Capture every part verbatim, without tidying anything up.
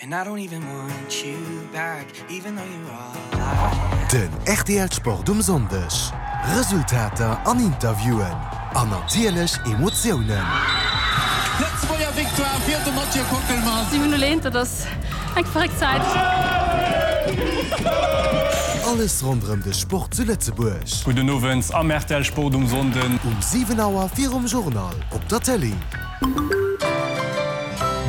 And I don't even want you back, even though you're all I Den R T L Sport um Sonndeg. Resultater an Interviewen. An natierlech Emotiounen. Lëtzebuerger Victoire fir de Mathieu Kockelmann. siwen null eent, dat ass eng verréckt Zäit. Alles ronderëm de Sport zu Lëtzebuerg. Gudden Owend am R T L Sport um Sonnden. Um siwen Auer virum Journal op der Tëlee.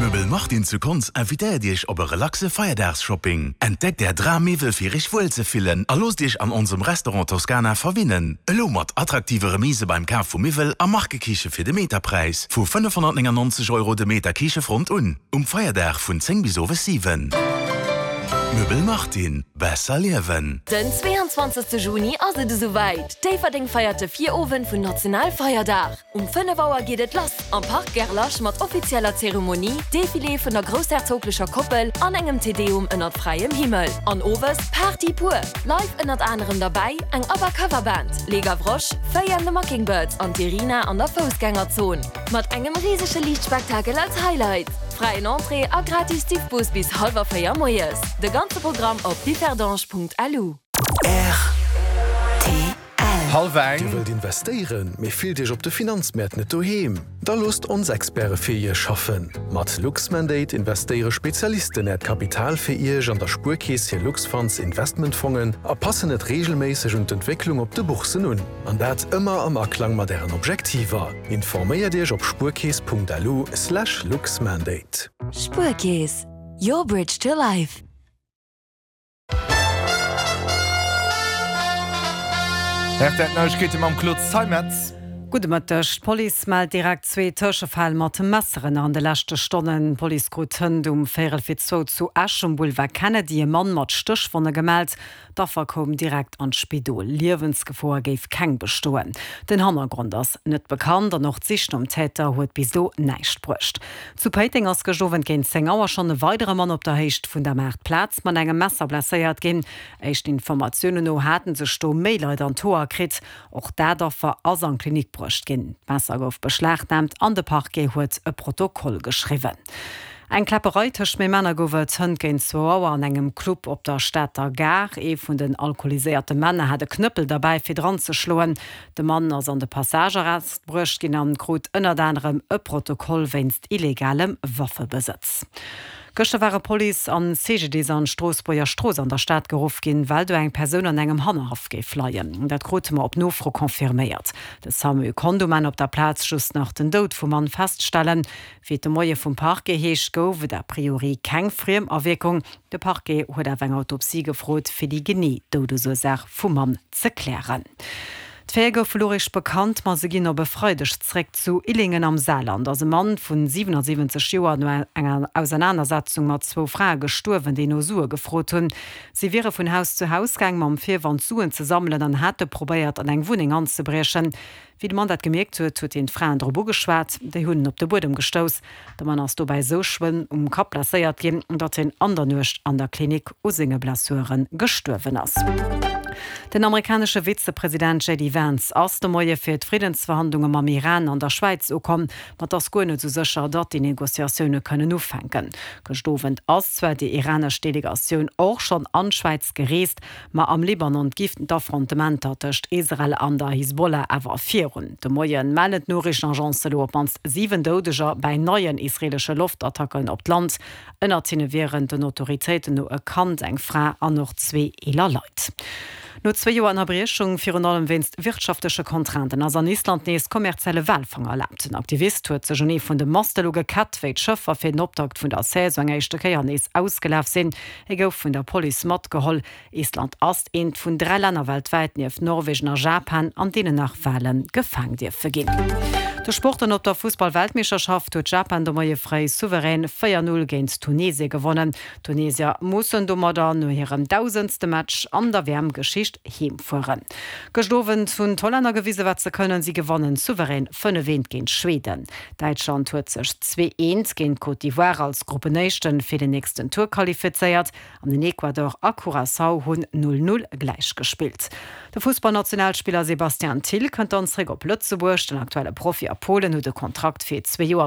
Möbel Martin zu Konz invitéiert Iech op e relaxe Feierdagsshopping. Entdeckt är Drammiwwel fir Iech wuel ze fillen a loosst Iech an onsem Restaurant Toskana verwinnen. Elo mat attraktive Remise beim Kaf vu Miwwel a Markekiche fir de Meterpräis vu fënnefhonnertnéngennonzeg Euro de Meter Kichefront un. Um Feierdag vun zéng bis owes siwen. Möbel Martin, besser liewen. Den zweeanzwanzegste Juni ass et esouwäit. Déifferdeng feiert de Virowend vun Nationalfeierdag. Um fënnef Auer geet et lass am Park Gerlach mat offizieller Zeremonie, Defilé vun der groussherzoglecher Koppel an engem Te Deum ënnert fräiem Himmel. An owes Party pur. Live ënnert anerem derbäi eng ABBA Coverband, Les Gavroches, Fay and the Mockingbirds an d'Irina an der Foussgängerzon. Mat engem risege Liichtspektakel als Highlight. Fräien Entrée a gratis Diffbus bis hallwer véier moies. De ganze Programm op differdange Punkt L U. Hallwer eng. Dir wëllt investéieren, mee fillt Iech op de Finanzmäert net doheem? Da loosst ons Experte fir Iech schaffen. Mat Luxmandate investéiere Spezialisten Äert Kapital fir Iech an der Spuerkeess hir Luxfunds Investmentfongen a passen et reegelméisseg un d'Entwécklung op de Boursen un. An dat ëmmer am Aklang mat Ären Objektiver. Informéiert Iech op spuerkeess Punkt L U slash luxmandate. Spuerkeess, your bridge to life. R T L Neiegkeete mam Claude Zeimetz. Gudde Mëtteg. D'Police mellt direkt zwee Tëschefäll mat Messeren an de leschte Stonnen. D'Police krut hënt um véierel fir zwou zu Esch um Boulevard Kennedy e Mann mat Stéchwonne gemellt. D'Affer koum direkt an d'Spidol. Liewensgefor géif keng bestoen. Den Hannergrond ass net bekannt an och d'Sich nom Täter huet bis elo näischt bruecht. Zu Péiteng ass gëschter Owend géint zéng Auer schonn e weidere Mann op der Héicht vun der Maartplaz mat engem Messer blesséiert ginn. Éischten Informatiounen no haten sech do méi Leit an d'Hoer kritt. Och dat Affer ass an d'Klinik bruecht ginn. D'Messer gouf beschlagnaamt an de Parquet huet e Protokoll geschriwwen. Eng Kläpperei tëscht méi Männer gouf et hënt géint zwou Auer an engem Club op der Stater Gare. Ee vun den alkoholiséierte Männer hat e Knëppel derbäi fir dran ze schloen. De Mann ass an de Passagearrest bruecht ginn an krut ënnert anerem e Protokoll wéinst illegalem Waffebesëtz. Gëschter ware Police an C G D I S an d'Stroossbuerger Strooss an der Stad geruff ginn, well do eng Persoun an engem Hannerhaff géif leien. Dat krute mer op Nofro confirméiert. De SAMU konnt um Enn op der Plaz just nach den Doud vum Mann feststellen. Wéi et de Moie vum Parquet heescht, gouf et a priori keng Friemawierkung. De Parquet huet awer eng Autopsie gefrot, fir déi genee Doudesursaach vum Mann ze klären. D'Fäer gouf elo eréischt bekannt, ma se ginn op e Freideg zréck. Zu Illingen am Saarland ass e Mann vun siwenasiwwenzeg Joer no enger Ausernanersetzung mat zwou Frae gestuerwen, déi no Sue gefrot hunn. Si wiere vun Haus zu Haus gaang mam Virwand Suen ze sammelen an hate probéiert an eng Wunneng anzebriechen. Wéi de Mann dat gemierkt huet, huet hien d'Fraen drop ugeschwat, déi hunn en op de Buedem gestouss. De Mann ass dobäi sou schlëmm um Kapp blesséiert ginn, datt hien an der Nuecht an der Klinik u senge Blessuren gestuerwen ass. Den amerikanesche Vizepresident J D Vance ass de Moie fir d'Friddensverhandlunge mam Iran an der Schwäiz ukomm, ma et ass guer net sou sécher, datt déi Negociatioune kënnen ufänken. Gëschter Owend ass zwar déi iranesch Delegatioun och schonn an d'Schwäiz gereest, ma am Libanon ginn d'Affrontementer tëscht Israel an der Hisbollah awer virun. De Moien mellen d'Noriichtenagence elo op d'mannst siwen Doudeger bei neien israeelesche Loftattacken op d'Land. Ënnert hinne wieren den Autoritéiten no e Kand, eng Fra an och zwee eeler Leit. No zwee Joer Ënnerbriechung, virun allem wéinst wirtschaftleche Contrainten, ass an Island nees kommerzielle Walfang erlaabt. En Aktivist huet sech un ee vun de Maste ugekett, wéi d'Schëffer fir den Optakt vun der Saison eng éischte Kéier nees ausgelaf sinn. Hie gouf vun der Police matgeholl. Island ass eent vun dräi Länner weltwäit nieft Norwegen a Japan, an deenen nach Wale gefaang dierfe ginn. De Sport an op der Fussball-Weltmeeschterschaft huet Japan de Moie fréi souverän véier null géint Tunesien gewonnen. D'Tunesier mussen domadder no hirem dausendste Match an der W M-Geschicht heemfueren. Gëschter Owend hunn d'Hollänner gewisen, wat se kënnen. Si gewannen souverän fënnef eent géint Schweden. Däitschland huet sech zwee eent géint Côte d'Ivoire als Gruppenéischten fir den nächsten Tour qualifizéiert. An den Ecuador a Curaçao hunn null null gläich gespillt. De Fussballnationalspiller Sebastian Thill kënnt dann zréck op Lëtzebuerg. Den aktuelle Profi a Polen huet de Kontrakt fir zwee Joer